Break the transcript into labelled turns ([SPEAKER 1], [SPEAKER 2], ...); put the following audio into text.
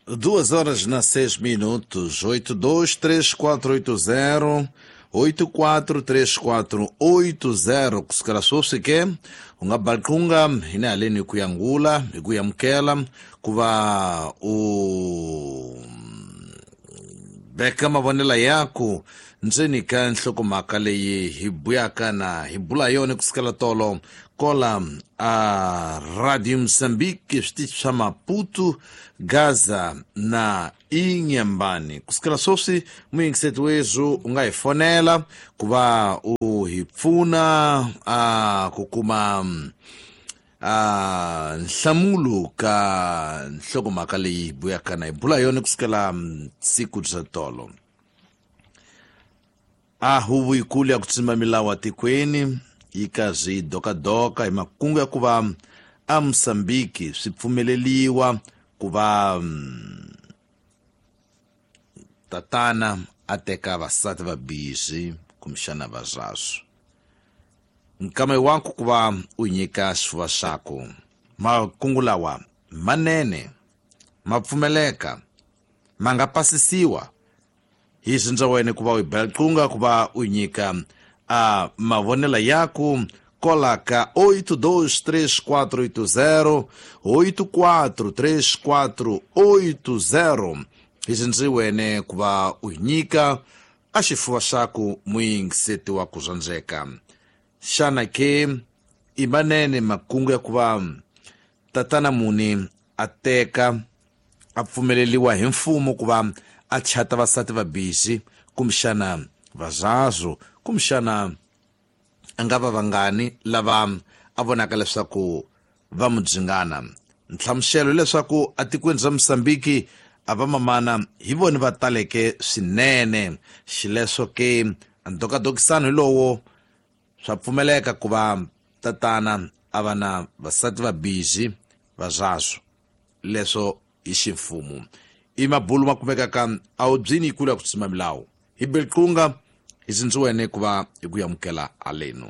[SPEAKER 1] 2 horas na 6 minutos, 823480 843480. Kusukela sweswi ke u nga balqunga hina haleni hi ku yangula hi ku yamukela ku va u veka mavonelo yaku ndzeni ka nhlokomhaka leyi hi buyaka na hi bula yona kusukela tolo kola a Radio Mozambique, switichi swa Maputo, Gaza na Inhambane. Kusukela sweswi, muyingiseti wethu, u nga hi fonela ku va u hi pfuna a ku kuma a nhlamulo ka nhlokomhaka leyi hi buyaka na hi bula yona kusukela siku bya tolo. A huvo yikulu ya ku tsima milawu atikweni yi karhi yi dokadoka hi makungu ya ku va a Mosambiki swi pfumeleliwa ku va tatana a teka vasati va bizi kumbexana vazazwo. Nkama waku ku va u nyika xifuva xaku, makungu lawa manene ma pfumeleka, ma nga pasisiwa hi swindza wena ku va u bela qunga ku va u nyika a mavonelo yaku kola ka 823480 843480. Hi swindzi wene ku va u nyika a xifuva xaku, muyingiseti wa ku rhandzeka. Xana ke i manene makungu ya ku va tatana muni a teka, a pfumeleliwa hi mfumo ku va a chata vasati va bizi kumbexana vazazo, kumbexana a nga va vangani lava a vonaka leswaku va mu dzingana? Nhlamuselo hileswaku atikweni ra Mosambiki a va mamana hi voni va taleke swinene, xileswo ke ndokadokisano hi lowo swa pfumeleka ku va tatana a va na vasati va bizi vazazwo, leswo hi ximfumo. I mabulu ma kumekaka awubyini yikulu ya ku tsima milawu. Hi belqunga hi sindzi wene ku va hi ku yamukela halenu.